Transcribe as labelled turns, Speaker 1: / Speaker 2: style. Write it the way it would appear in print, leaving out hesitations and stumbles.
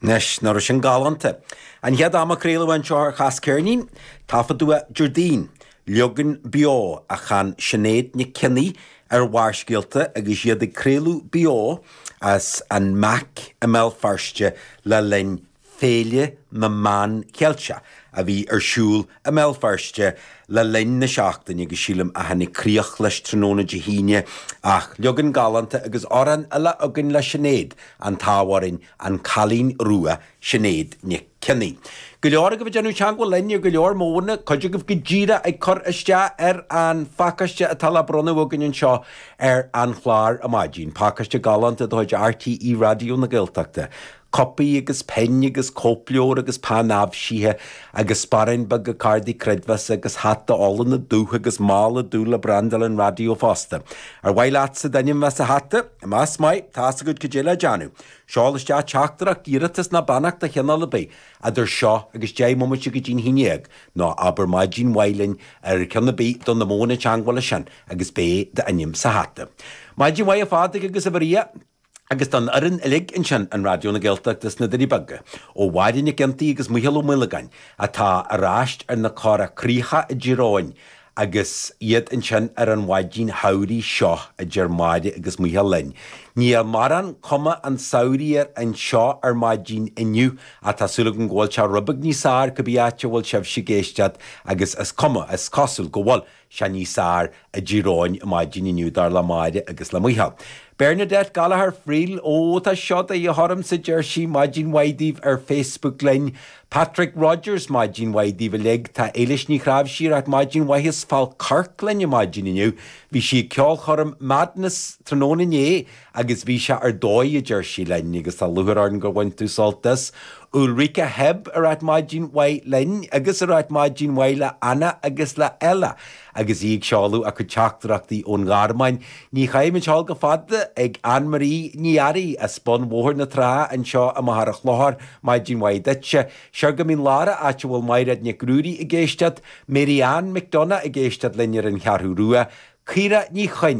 Speaker 1: Anois, nach raibh sin galánta? An chéad am a craoladh anseo ar Chas Ceirnín, taifeadadh é Déardaoin, leagan beo a chan Sinéad Nic Cionnaith ar Bharrscéalta agus iad ag craoladh beo as an MAC i mBéal Feirste le linn Féile na Meán Cheilteach a bhí ar siúl i mBéal Feirste le linn na seachtaine agus sílim a tháinig críoch leis tráthnóna Dé hAoine ach leagan galánta agus amhrán eile againn le Sinéad, an t-ádh orainn, An Cailín Rua, Sinéad Nic Cionnaith. Go leor agaibh ag déanamh teagmháil linn ar go leor modhanna, cuid agaibh go díreach ag cur isteach ar an phacáiste atá le bronnadh againn anseo ar an chlár ar maidin, pacáiste galánta de chuid RTÉ Raidió na Gaeltachta. Cupaí agus pinn agus cóipleabhar agus peann aibhsithe agus sparán beag cártaí creidmheasa agus hata olann dubh agus mála dubh le brandáil an raidió fosta. Ar mhaith leatsa d'ainm bheith sa hata? Más maith, tá's agat cad é le déanamh. Seol isteach teachtaireacht, iarratas ná beannacht de chineál ar bith idir seo agus 10 mbomaite go dtí'n haon dhéag, nó abair maidin mhaith linn ar cheann ar bith de na modhanna teagmhála sin agus beidh d'ainm sa hata. Maidin mhaith a Phádraig agus a Mharia! Agus don fhoireann uilig ansin in Raidió na Gaeltachta sna Doirí Beaga, ó Mháire Nic Fhionntaigh agus Micheál Ó Maolagáin, atá ar ais ar na Cora Críocha i dTír Eoghain agus iad ansin ar an mhaidin shamhraidh seo, a deir Máire agus Micheál linn. Níl mórán cuma an tsamhraidh air anseo ar maidin inniu ach tá súil agam go bhfuil sé rud beag níos fearr cibé áit a bhfuil sibhse ag éisteacht agus is cuma, is cosúil go bhfuil. sé níos fearr i dTír Eoghain maidin inniu dar le Máire agus le Micheál. Bernadette Gallagher Friel, Ó, tá seo de dhíth ormsa, deir sí, maidin mhaith daoibh ar Facebook linn. Patrick Rogers, Maidin mhaith daoibh uilig. Tá Éilis Ní Chnáimhsí ag ráit maidin mhaith as Fál Carrach linn ar maidin inniu. Bhí sí ag ceolchoirm Madness tráthnóna inné agus bhí sé ar dóigh, a deir sí linn, agus tá lúcháir orainn gur bhain tú sult as. Ulrika Hebb ag ráit maidin mhaith linn agus ag ráit maidin mhaith le Anna agus le Ella agus í ag seoladh a cuid teachtaireachtaí ón nGearmáin. Ní chaithfimid a ghabháil go fada ag Anne Marie Ní Fhearraigh as bun Bhóthar na Trá anseo i Machaire Chlochair, maidin mhaith duitse. Siar go Mín Lárach áit a bhfuil Maighread Nic Ruairí ag éisteacht, Mary Ann McDonagh ag éisteacht linn ar an Cheathrú Rua, Caoire Ní Chuinn.